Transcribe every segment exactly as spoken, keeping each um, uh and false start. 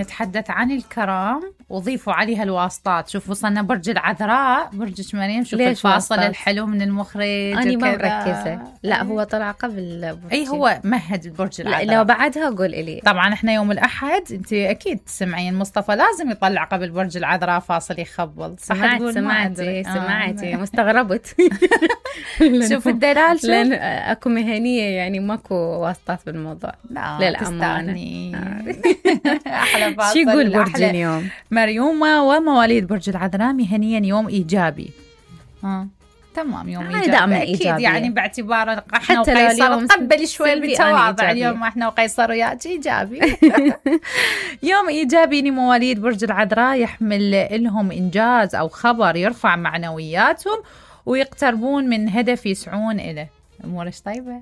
نتحدث عن الكرم وضيفوا عليها الواسطات. شوف وصلنا برج العذراء، برجك مريم، شوف الفاصل واسطات. الحلو من المخرج. أنا ما مركزة. لا هو طلع قبل برج. أي هو مهد البرج العذراء. لو بعدها قول إلي. طبعا إحنا يوم الأحد أنت أكيد تسمعين مصطفى لازم يطلع قبل برج العذراء فاصل يخبل. سمعت سمعتي سمعتي مستغربت. شوف الدلال، شوف لأن أكو مهنية يعني ماكو واسطات بالموضوع. لا للأمانة. أحلى فاصل. شو يقول برج اليوم؟ مريومة ومواليد برج العذراء مهنيا يوم إيجابي. ها تمام، يوم إيجابي دائما أكيد إيجابي. يعني باعتبار إحنا وقيصر تقبل شوي بالتواضع. اليوم إحنا وقيصر وياك إيجابي. يوم إيجابي لمواليد برج العذراء، يحمل لهم إنجاز أو خبر يرفع معنوياتهم ويقتربون من هدف يسعون إليه. أمورش طيبة.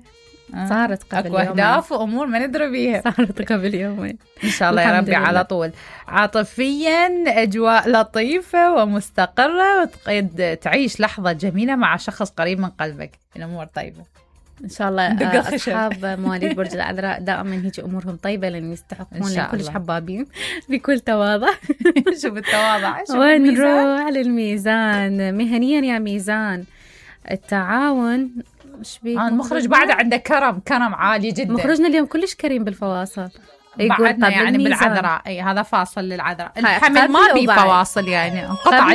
آه. صارت قبل يومين. أكو أهداف وأمور ما ندري بيها. صارت قبل يومين إن شاء الله يا ربي على طول. عاطفيا أجواء لطيفة ومستقرة، وتقد تعيش لحظة جميلة مع شخص قريب من قلبك. الأمور طيبة إن شاء الله. أصحاب مواليد برج العذراء دائما هيك أمورهم طيبة لأن يستحقون، لأن كلش حبابين بكل تواضع. شوف التواضع. ونروح للميزان. مهنيا يا ميزان، التعاون مش بيك. آه المخرج بعد عنده كرم كرم عالي جدا. مخرجنا اليوم كلش كريم بالفواصل. بعدنا يعني بالعذراء. اي هذا فاصل للعذراء. الحمل ما بي فواصل يعني انقطع